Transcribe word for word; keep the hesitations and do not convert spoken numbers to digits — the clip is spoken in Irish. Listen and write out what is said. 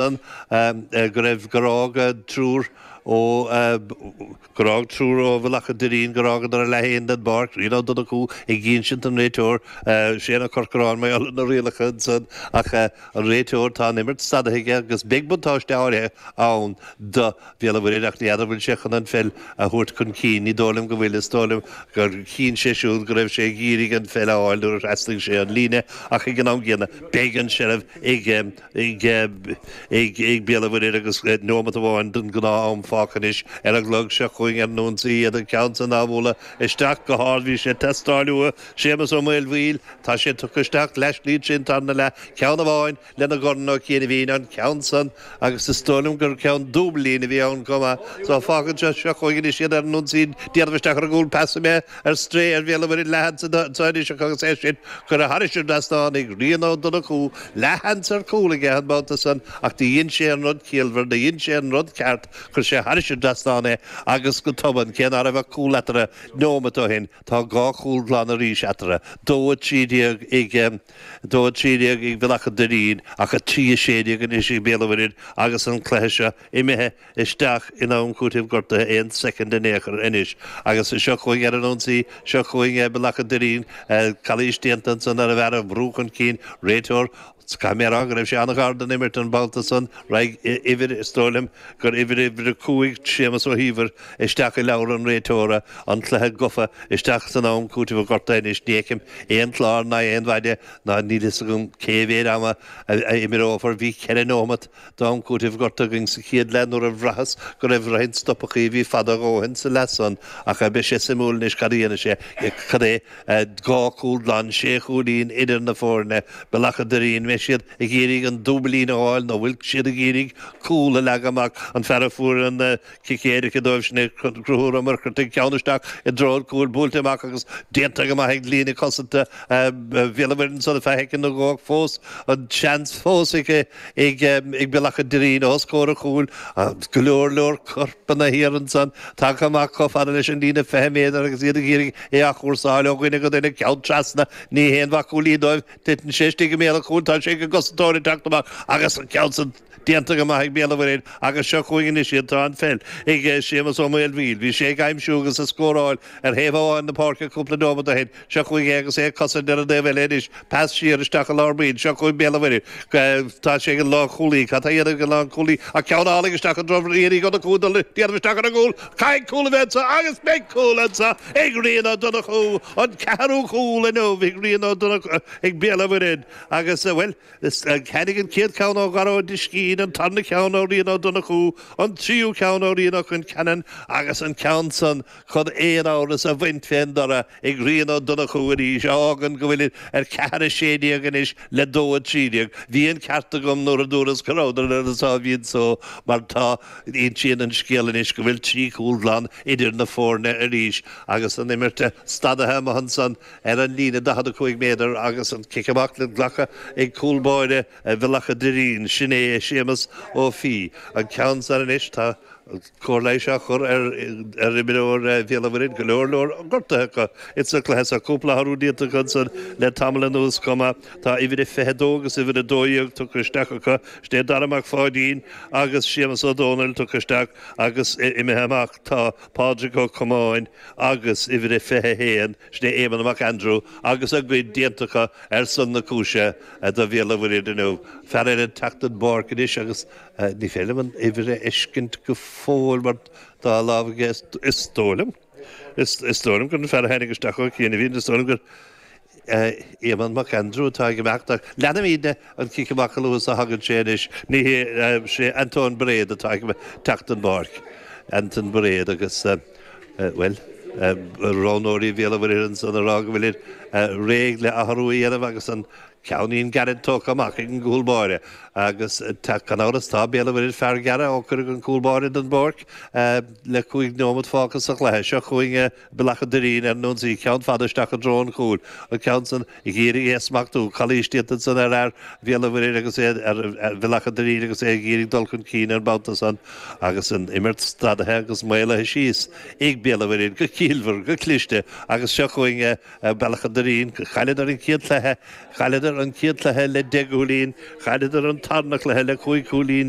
Go raibh gur fhág triúr ó gur fhág triúr ó Bhealach an Doirín gur fhágadar a leath féin den bpáirc, Rian Ó Donnchú ag insint don réiteoir Séan Ó Corcoráin mar gheall ar na rialacha ansan ach an réiteoir tá an imirt stadaithe aige agus beidh buntáiste áirithe ann do Bhéal an Mhuirthead ach ní fheadar bhfuil sé chun an pheil a thabhairt chun cinn, ní dóigh liom go bhfuil, is dóigh liom gur chinn sé siúd go raibh sé ag iarraidh an pheil a fháil nuair a thrasnaigh sé an líne ach ag an am gcéanna beidh an seilbh ag ag ag ag Béal an Mhuirthead agus neomat amháin den ghnáth-am fágtha anois ar an gclog seo chugainn ar an ionsaí iad an ceann san á bhualadh isteach go hard bhí sé ag teastáil uathu Séamus Ó Maolmhaoil tá sé tugtha isteach leathshlí tríd an tarna leath ceann amháin lena dhorn ó chianaibhín an ceann san agus is dóigh liom gur ceann dúbailín a bhí ann chomh maith so fágann seo seo chugainn anois iad ar an ionsaí déanamh isteach ar an gcúl pas imithe ar strae ar Bhéal an Mhuirthead leathsheans anseo anois agus é sin curtha thairis an dtrasnán ag Rian Ó Donnchú leathsheans ar chúl aige an babhta san ach do dhein sé an rud ciallmhar do dhein sé an rud ceart chuir sé thairis an dtrasnán é agus go tobann cé ná raibh ach cúl eatarthu neomat ó shin tá dhá chúl glan arís eatarthu dó a trí déag ag dó a trí déag ag Bealach an Doirín ach a trí a sé déag anois ag Béal an Mhuirthead agus an cluiche seo imithe isteach in am cúitimh gortaithe aon soicind in aon chor anois agus seo chugainn ar an ionsaí seo chugainn Bealach an Doirín calaois déanta ansan ar an bhfear a bhrú chun cinn réiteoir Caithfidh mé a rá go raibh sé an-ghar don imirt an babhta san raghaidh uimhir is dóigh liom gur uimhir uimhir a cúig Séamus Ó hÍomhair isteach i leabhar an réiteora an cluiche gafa isteach san am cúitimh gortaithe anois ní fheicim aon chlár ná aon mhaide ná níl fhios agam cé mhéad ama a imreofar bhí ceithre nóimeat d'am cúitimh gortaithe againn sa chéad leath nuair a bhraitheas go raibh roinnt stopachaí a bhí fada a dhóthain sa leath san ach beidh sé suimiúil anois cad a dhéanfaidh sé cad é dhá chúl glan sé chúilín idir na foirne Bealach an Doirín mbeidh siad ag iarraidh an dúbailín a fháil nó bhfuil siad ag iarraidh cúl a leagadh amach an fear a fuair an cic éirice dóibh sin é Conchúr Ó Muircheartaigh ceann isteach i dtreo an chúil buailte amach agus déanta go maith ag líne cosanta Bhéal an Mhuirthead ansan ar feadh soicind nó dhó ach fós an seans fós ag ag ag Bealach an Doirín os comhair an chúil go leor leor corpanna thiar ansan tagtha amach chomh fada leis an líne fiche méadar agus iad ag iarraidh é a chúrsáil ó dhuine go duine ceann trasna ní haon mhaith cúilín dóibh titeann sé istigh i mbéal an chúil tá sé ag an gcosantóir ag teacht amach agus an ceann san déanta go maith ag Béal an Mhuirthead agus seo chugainn anois iad tá an pheil ag Séamus Ó Maolmhaoil bhí sé ag aimsiú agus ag scóráil ar thaobh amháin na páirce cúpla nóiméad ó shin seo chugainn é agus é ag cosaint ar an dtaobh eile anois pas siar isteach i lár baill seo chugainn Béal an Mhuirthead tá sé ag an lánchúlaí cad tá a dhéanamh ag an lánchúlaí ach ceann álainn isteach i dtreo Rian Uí Dhonnchú dul déanamh isteach ar an gcúl caithfidh cúl a bheith anseo agus beidh cúl anseo ag Rian Ó Donnchú an ceathrú cúl inniu ag Rian Ó Donnchú ag Béal an Mhuirthead agus bhuel tháinig an chéad cheann ó Dhara Ó Discín an tarna ceann ó Rian Ó Donnchú an tríú ceann ó Rian Ó Concheanainn agus an ceann san chun aon amhras a bhaint fén dtoradh ag Rian Ó Donnchú arís a fhágann go bhfuil ar ceathair a sé déag anois le dó a trí déag. Bhí an ceart agam nuair a dúras go rabhadar ar an sáimhín só mar tá insíonn an scéal anois go bhfuil trí chúl glan idir na foirne arís agus an imirt stadaithe amuigh ansan ar an líne daichead a cúig méadar agus an cic amach le glacadh ag cúl báire Bhealach an Doirín, sin é Séamus Ó Fiaich. An ceann san anois, tá cóir leighis á chur ar ar imreoir Bhéal an Mhuirthead, go leor leor gortuithe acu insa chluiche seo, cúpla athrú déanta acu ansan le tamall anuas chomh maith. Tá uimhir a fiche dó agus uimhir a dó dhéag tugtha isteach acu, sin é Dara Mac Pháidín agus Séamus Ó Dónaill tugtha isteach agus imithe amach tá Pádraig Ó Comáin agus uimhir a fiche a haon, sin é Éamonn Mac Aindriú, agus a gcuid déanta acu ar son na cúise do Bhéal an Mhuirthead inniu. Fear eile ag teacht den bpáirc anois agus ní féidir liom an uimhir a fheiscint go fóill mar tá a lámh aige, is dóigh liom, is dóigh liom gur an fear a tháinig isteach ó chianaibh, is dóigh liom gur Éamonn Mac Aindriú atá ag imeacht ach leanfaimid an cic amach a luaithe is a thagann sé anois. Ní hé, sé Antóin Bairéad atá ag teacht den bpáirc. Anton Bairéad agus, bhuel, roghnóirí Bhéal an Mhuirthead ansan ag rá go bhfuilid réidh le athrú a dhéanamh agus an ceainnín gairid tógtha amach ag an gcúl báire agus gan amhras tá Béal an Mhuirthead fear gearra ó cuireadh an cúl báire den bpáirc le cúig nóiméad fágtha sa chluiche. Seo chugainn Bealach an Doirín ar an ionsaí, ceann fada isteach i dtreo an chúil, an ceann san ag iarraidh é a smachtú, calaois déanta ansan ar fhear Bhéal an Mhuirthead agus é ar Bhealach an Doirín agus é ag iarraidh dul chun cinn an babhta san agus an imirt stadaithe agus maolaithe síos ag Béal an Mhuirthead go ciallmhar, go cliste agus seo chugainn Bealach an Doirín. Chailleadar an chéad chluiche, chailleadar Chailleadar an chéad chluiche le deich gcúilín, chailleadar an tarna cluiche le cúig chúilín.